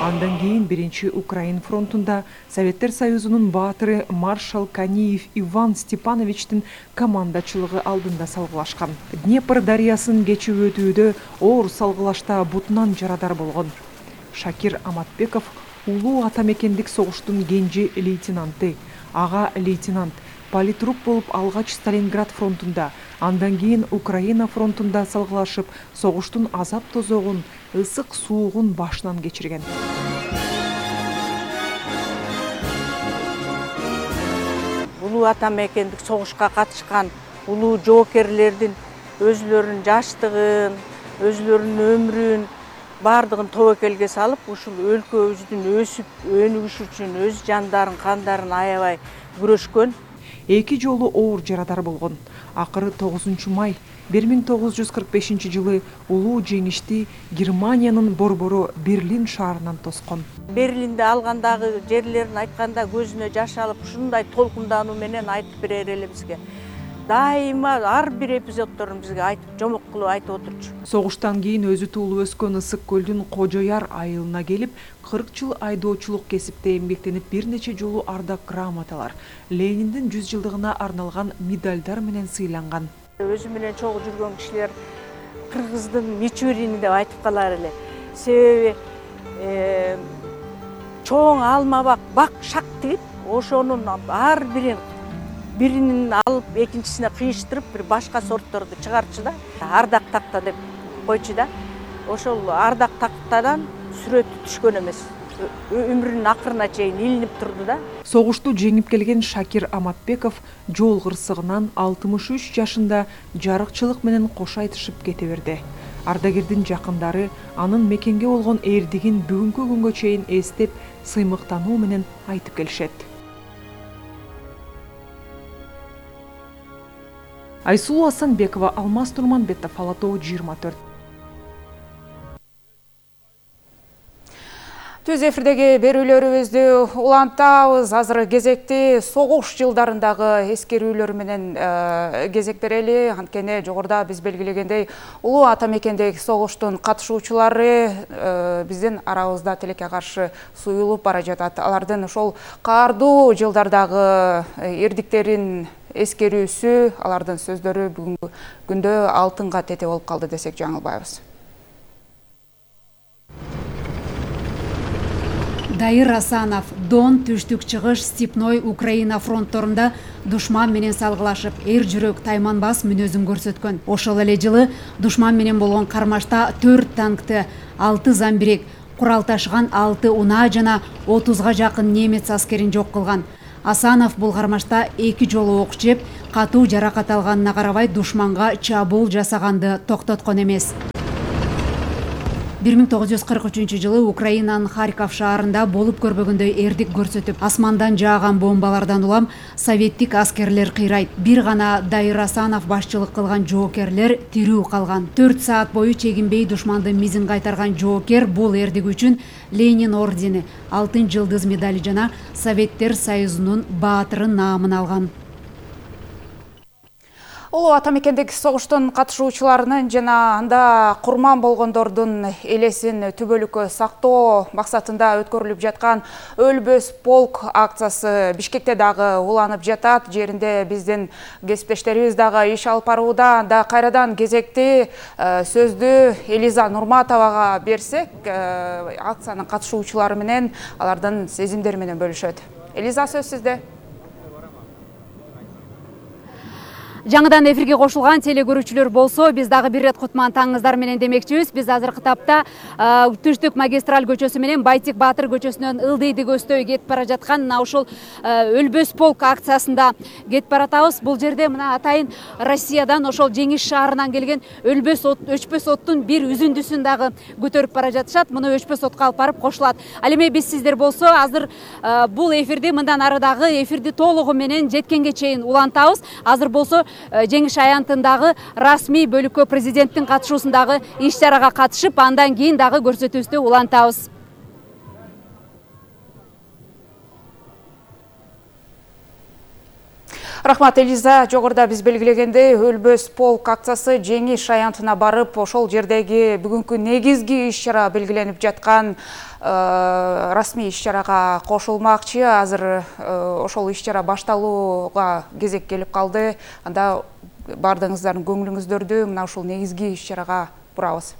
Андан кийин Биринчи Украин фронтунда Советтер Союзунун баатыры маршал Каниев Иван Степановичтин командачылыгы алдында салгылашкан. Днепр дарыясын кечип өтүүдө оор салгылашта бутунан жарадар болгон. Шакир Аматбеков улуу атамекендик согуштун кенже лейтенанты, ага лейтенант, политрук болуп алгач Сталинград фронтунда, андан кийин Украина фронтунда салгылашып, согуштун азап тозогун, ысык суугун башынан кечирген. Улуу атамекендик согушка катышкан улуу жоокерлердин өзүлөрүнүн жаштыгын, өзүлөрүнүн өмүрүн бардыгын тобокелге салып, ушул өлкөбүздүн өсүп өнүгүшү үчүн өз жандарын, кандарын аябай күрөшкөн. Эки жолу оор жарадар болгон. Акыры 9 май 1945 жылы улуу жеңишти Германиянын борбору Берлин шаарынан тоскон. Берлинде алгандагы жерлерин айтканда көзүнө жаш алып, ушундай толкундануу менен айтып берер эле бизге. Дайыма ар бир эпизоддорун бизге айтып, жомок кылып айтып отурчу. Согуштан кийин өзү туулуп өскөн Ысык көлдүн Кожояр айылына келип, 40 жыл айдоочулук кесипте эмгектенип, бир нече жолу ардак грамоталар, Лениндин 100 жылдыгына арналган медальдар менен сыйланган. Өзү менен чогуу жүргөн кишилер Кыргыздын Мичурини деп айтып калар эле. Себеби чоң алма бак шак тигип, ошонун ар биринин алып экинчисине кыйыштырып, бир башка сортторду чыгарчу да. Ардак такта деп койчу да. Ошол ардак тактадан сүрөтү түшкөн эмес. Өмүрүнүн акырына чейин илинип турду да. Согушту жеңип келген Шакир Аматбеков жол кырсыгынан 63 жашында жарыкчылык менен кош айтышып кете берди. Ардагердин жакындары анын мекенге болгон эрдигин бүгүнкү күнгө чейин эстеп, сыймыктануу менен айтып келишет. Айсулуу Асанбекова, Алмаз Турманбетов, Ала Тоо 24. Түз эфирдеги берүүлөрүбүздү улантабыз. Азыр кезекти согуш жылдарындагы эскерүүлөр менен кезек берели. Анткени жогоруда биз белгилегендей, улуу атамекендик согуштун катышуучулары биздин арабызда тилекке каршы суюлуп бара жатат. Алардын ошол каардуу жылдардагы эрдиктерин эскерүүсү, алардын сөздөрү бүгүнкү күндө алтынга тете болуп калды десек жаңылбайбыз. Дайыр Асанов Дон, Түштүк чыгыш, Степной Украина фронтторунда душман менен салгылашып, эр жүрөк тайманбас мүнөзүн көрсөткөн. Ошол эле жылы душман менен болгон кармашта 4 танкты, 6 замбирек, курал ташыган 6 унаа жана 30га жакын немец аскерин жок кылган. Асанов бул кармашта 2 жолу ок жеп, катуу жаракат алганына карабай душманга чабуул жасаганды токтоткон эмес. 1943 жылы Украинанын Харьков шаарында болуп көрбөгөндөй эрдик көрсөтүп, асмандан жааган бомбалардан улам советтик аскерлер кыйрайт. Бир гана Дайыр Асанов башчылык кылган жоокерлер тирүү калган. 4 саат бою чегинбей душмандын мизин кайтарган жоокер бул эрдик үчүн Ленин ордени, Алтын жылдыз медали жана Советтер Союзунун баатыры наамын алган. Улуу атамекендик согуштун катышуучуларынын жана анда курман болгондордун элесин түбөлүккө сактоо максатында өткөрүлүп жаткан Өлбөс полк акциясы Бишкекте дагы уланып жатат. Жеринде биздин кесиптештерибиз дагы иш алып барууда. Анда кайрадан кезекти сөздү Элиза Нурматовага берсек, акциянын катышуучулары менен алардын сезимдери менен бөлүшөт. Элиза, сөз сизде. Жаңыдан эфирге кошулган теле көрүүчүлөр болсо, биз дагы бир рет кутман таңыңыздар менен демекчибиз. Биз азыркы тапта Түштүк магистраль көчөсү менен Байтик Баатыр көчөсүнөн ылдыйды көздөй кетип бара жаткан мына ушул Өлбөс полк акциясында кетип баратабыз. Бул жерде мына атайын Россиядан, ошол жеңиш шаарынан келген өчпөс оттун бир үзүндүсүн дагы көтөрүп бара жатышат. Муну өчпөс отко алып барып кошулат. Ал эми биз сиздер болсо, азыр бул эфирди мындан ары дагы эфирди толугу менен жеткенге чейин улантабыз. Азыр болсо жеңиш аянтындагы расмий бөлүккө президенттин катышуусундагы иш-чарага катышып, андан кийин дагы көрсөтүүбүздү улантабыз. Рахмат, Элиза. Жогоруда биз белгилегендей, Өлбөс полк акциясы жеңиш аянтына барып, ошол жердеги бүгүнкү негизги иш-чара белгиленип жаткан расмий иш-чарага кошулмакчы. Азыр ошол иш-чара башталууга кезек келип калды. Анда бардыгыңыздардын көңүлүңүздөрдү мына ушул негизги иш-чарага бурабыз.